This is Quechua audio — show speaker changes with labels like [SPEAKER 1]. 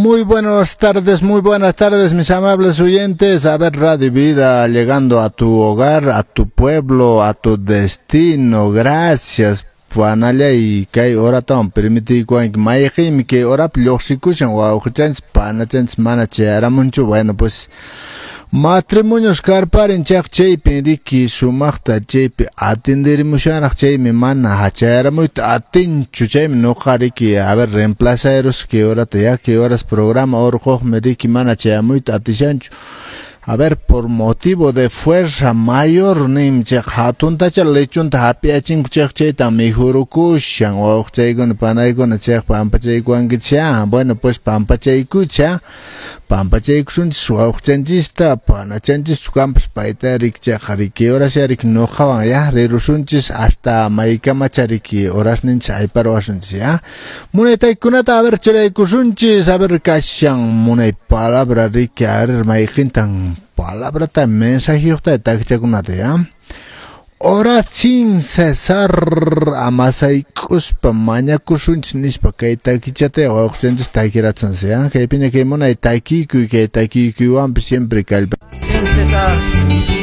[SPEAKER 1] Muy buenas tardes, muy buenas tardes, mis amables oyentes. A ver, Radio Vida llegando a tu hogar, a tu pueblo, a tu destino. Gracias. Panallay kay horatawan permitiykuwanki mayqinmi kay horapi lluqsikushan wawqichanchis panachanchis mana chayaramunchu. Bueno, pues matrimonios karparin chaq chaypi riki sumaqta chaypi atenderimushanraq chaymi mana chayaramuyta atinchu chaymi nuqa riki a ver reemplazarus kay horata ya kay horas programa urquqmi riki mana chayamuyta atishanchu. A ver, por motivo de fuerza mayor nim chaq hatuntacha lechunta hap'iachinku chaq chayta mijurukushan wawqichaykuna panaykuna chaq pampachaykuwankichik. Bueno, pues pampachaykucha pampachaykusunchis wawqichanchista panachanchis kanpas payta riki chaq riki horas riki nuqawan ya rirusunchis hasta maykamacha riki horasninchis ayparwasunchis ya munay taykunata a ver churaykusunchis a ver kashan munay palabra riki a ver mayqintan palabrata mensajeyuqta takichakunata ya. Orad sin cesar amasayk'uspa mañakusunchis nispa kay takichata wawqichanchis takirasunchis ya. Kaypiña kay munay takikuy kay takikuywanpas siempre kallpa.
[SPEAKER 2] Sin cesar.